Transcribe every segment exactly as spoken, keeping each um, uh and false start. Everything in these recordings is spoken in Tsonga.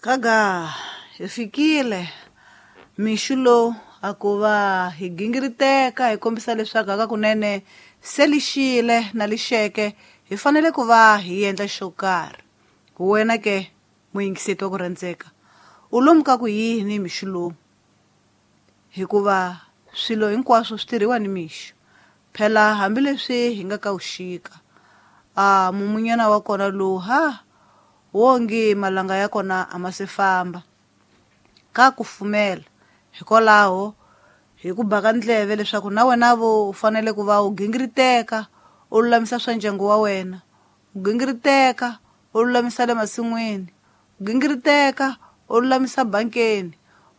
Gaga hi fikile mixo lowu a ku va hi gingiriteka hi kombisa leswaku hakakunene se lixile na lixeke hi fanele ku va hi endla xo karhi. Wena ke muyingiseti wa ku rhandzeka u lomu ka ku yini mixo lowu, hikuva swilo hinkwaswo swi tirhiwa ni mixo. Phela hambileswi hi nga ka wuxika a mumunyana wa kona lowu ha wongi malanga ya kona a ma se famba ka kufumela. Hikwalaho hi ku baka ndleve leswaku na wena vo u fanele ku va u gingiriteka u lulamisa swa ndyangu wa wena, u gingiriteka u lulamisa le masin'wini, u gingiriteka u lulamisa bankeni,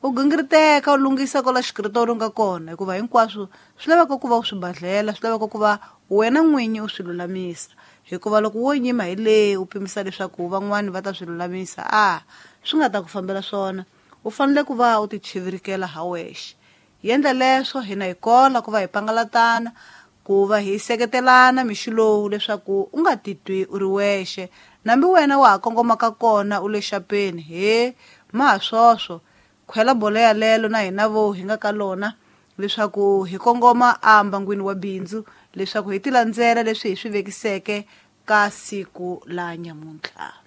u gingiriteka u lunghisa kwala xikritori u nga kona, hikuva hinkwaswo swi laveka ku va u swi badlela, swi laveka ku va wena n'winyi u swi lulamisa. Hikuva loko wo nyima hi le u pimisa leswaku van'wani va ta swi lulamisa, a swi nga ta ku fambela swona. U fanele ku va u ti chivirikela ha wexe. Yendla leswo hina hi kola ku va hi pangalatana, ku va hi seketelana mixo lowu leswaku u nga titwi u ri wexe. Nambi wena wa ha kongomaka kona u le xapeni, he ma ha swoswo khwela bolo yalelo na hina vo hi nga ka lona leswaku hi kongoma a mbangwini wa bindzu leswaku hi ti landzela leswi hi swi vekiseke ka siku la nyamuntlha.